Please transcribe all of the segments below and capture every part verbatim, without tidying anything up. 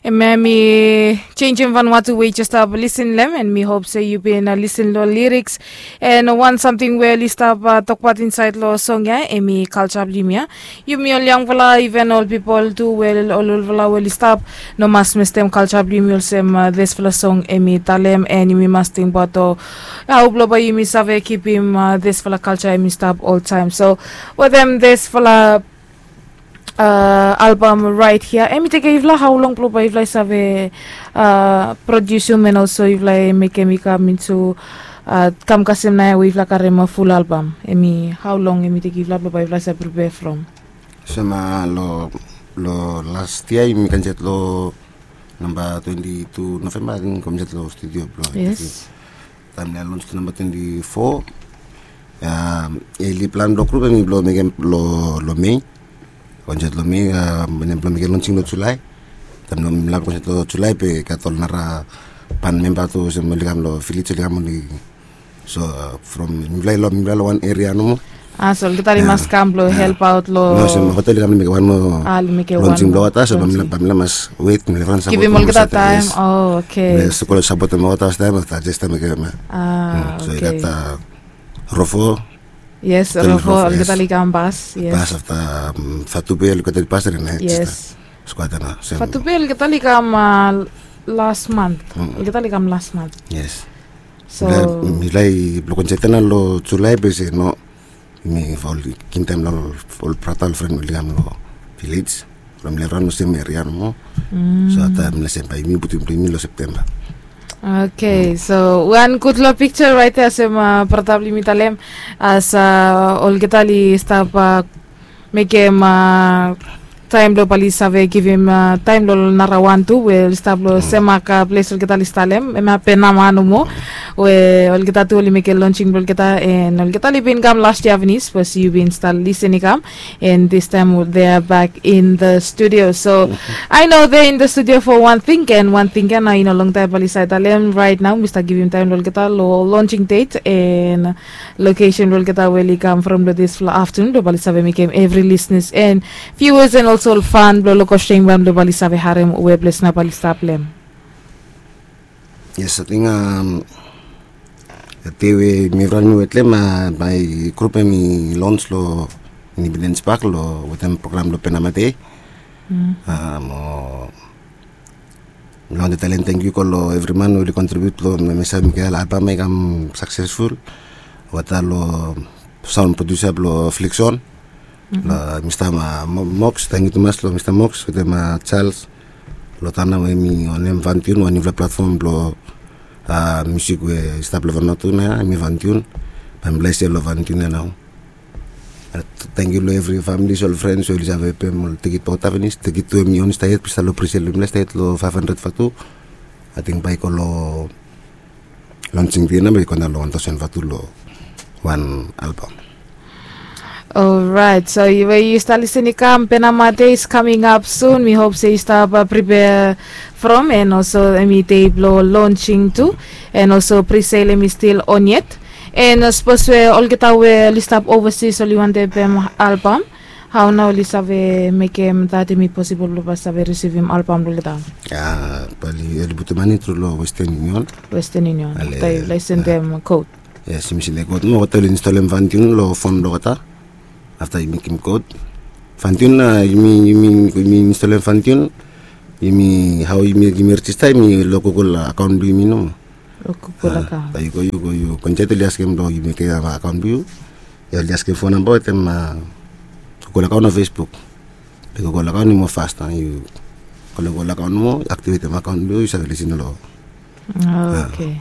Em ya mi changem van watu we yu jes stap lisin long em, and mi hop se yu bin lisin long liriks. And wan samting we oli stap tokbaot insaed long song ya em i kalja blong yumi ya. Yumi ol yangfala, iven ol pipol tu we ol olfala we oli stap, no mas mestem kalja blong yumi olsem disfala song em i talem, and yumi mas tingbaot o hao blong bae yumi save kipim disfala kalja em i stap oltaem. So wetem disfala albam raet hia, em i tekem yufala hao long blong bae yufala i save prodiusim and olso yufala i mekem i kam intu kam kasem naoia we yufala karem ful albam? Em i hao long em i tekem yufala blong bae yufala i save pripea from? Olsem long las yia yumi kam insaed long namba twenti tu Novemba, ating kam insaed long studio blong taem long lons tu namba twenti fo. Eli plan blong grup em i blong mekem long Mei. Kam insaed long Mei, wanem, blong mekem lonsing long Julae. Taem long mifala kam insaed long Julae be gat ol nara ban memba tu olsem oli kam long vilej, oli kam oli. So from mifala i long, mifala long wan eria nomo. A, so olgeta oli mas kam blong helpaot long. No, olsem olgeta oli kam mekem wan moa lonsing blong olgeta, so bae mifala mas wet, mifala ran sapotem olgeta taem. O, oke. Mifala sapotem olgeta taem afta jes taem mekem. A, oke. So i gat Rofo. Yes, Rofo, olgeta oli kam bas. Bas afta Fatube, olgeta oli bas ere na. Yes. Skuad ya nao. Fatube olgeta oli kam las mant. Olgeta oli kam las mant. Yes. So mifala i blong konset ya nao long Julae be se no, yumi ol givim taem long ol brata, ol fren oli kam long vilej. From mifala ran long sem eria nomo. So afta mifala se bae yumi putum blong yumi long Septemba. Oke, so wan gudfala pikja raet ya olsem brata blong yumi talem, as olgeta oli stap mekem taem blong bae oli save givim taem long ol narawan tu we oli stap long sem aka ples olgeta oli talem, hemia Penama nomo, we olgeta tu oli mekem lonsing blong olgeta, and olgeta oli bin kam las yia finis, sapos yu bin stap lisin i kam, and this time they are back in the studio. So I know they're in the studio for one thing, and one thing ya nao i no longtaem bae oli save talem. Right now mi stap givim taem long olgeta long lonsing det and lokesen blong olgeta we oli kam from long disfala aftenun blong bae oli save mekem evri lisenas and viuas and olso ol fan blong Lokos Tengban blong bae oli save harem we ples nao bae oli stap long hem. Yes, ating dei we mifala mi wet long hem, bae grup hem i lons long Independence Park long wetem program blong Penama Day. Mo mi wantem talem tangkiu i go long evri man we oli kontribiut long hemia, mekem albam ya i kam saksesful. Olgeta long saon prodiusa blong Flixon, long Mista Mox, tangkiu tumas long Mista Mox wetem Charles long taon ya we hemi wanem, Vantiun, wan niufala platfom blong miusik we i stap long Vanuatu nao ya, hemi Vantiun. Bae mifala i sel long Vantiun ya nao. Tangkiu long evri famili, ol frens we oli save pem ol tikit blong olgeta finis. Tikit tu hemi oli stap yet, be i stap long prisel, mifala i stap yet long faef handred vatu. Ating bae i go long lonsing dei nao bae i go daon long wan taosen vatu long wan albam. Olraet, so we yu stap lisin i kam, Penama Day is coming up soon. Mi hop se yu stap pripea from, and olso hemi dei blong lonsing tu, and olso prisel hemi stil on yet. And sapos we olgeta we oli stap ovasis oli wantem pem albam, hao nao oli save mekem dat hemi posibol blong bae save risivim albam blong olgeta? Ya, bae oli putum mane tru long Western Union. Western Union, afta yufala i sendem kod. Yes, yumi sendem kod mo olgeta oli instolem Vantiun long fon blong olgeta. Afta yumi mekem kod. Vantiun, yumi, yumi instolem Vantiun. Yumi, hao yumi, yumi rejista, yumi long Google akaon blong yumi nomo. Long Google akaon. Afta yu go, yu go, yu go insaed, oli askem blong yu mekem akaon blong yu. Ya, oli askem fon namba wetem Google akaon o Facebook. Be Google akaon i moa fas, yu go long Google akaon mo aktivetem akaon blong yu, yu save lisin long. Oke.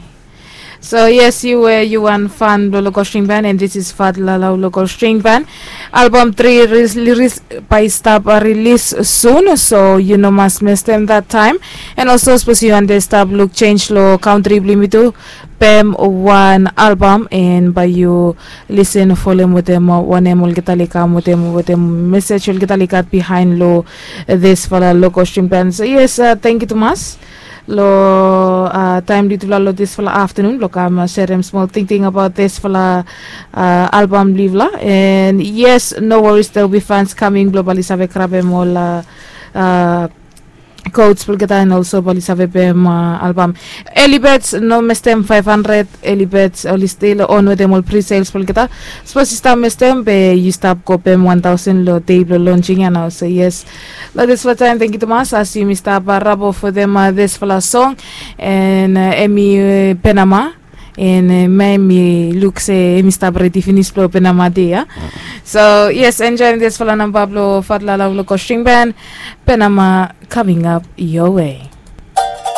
So yes, yu we yu wan fan blong Lokos String Band, and this is Fat Lalau Lokos String Band. Albam tri bae i stap rilis sun, so yu no mas mestem dat taem. And olso sapos yu wantem stap luk jenj long kantri blong yumi tu, pem wan albam, and bae yu lisin folem wetem wanem olgeta oli kam wetem, wetem mesej olgeta oli gat bihaen long disfala Lokos String Band. So yes, tangkiu tumas long taem blong yutufala long disfala aftenun blong kam serem smol tingting abaot disfala albam blong yufala. And yes, no worries, there will be fans coming blong bae oli save grabem ol Codes blong olgeta and also bae oli save pem albam. Early birds no mestem five hundred, early birds oli stil on wetem ol pre-sales blong olgeta. Sapos yu stap mestem be yu stap go pem one thousand long dei blong launching ya nao. So yes, long dispela taim thank yu tumas as yumi stap rabo for them uh, dispela song and uh, emi uh, penama and uh, mai mi luk se emi stap redi finis blong penama dei ya. So yes, enjoy dispela namba blong fatlala blong kosting band penama coming up your way.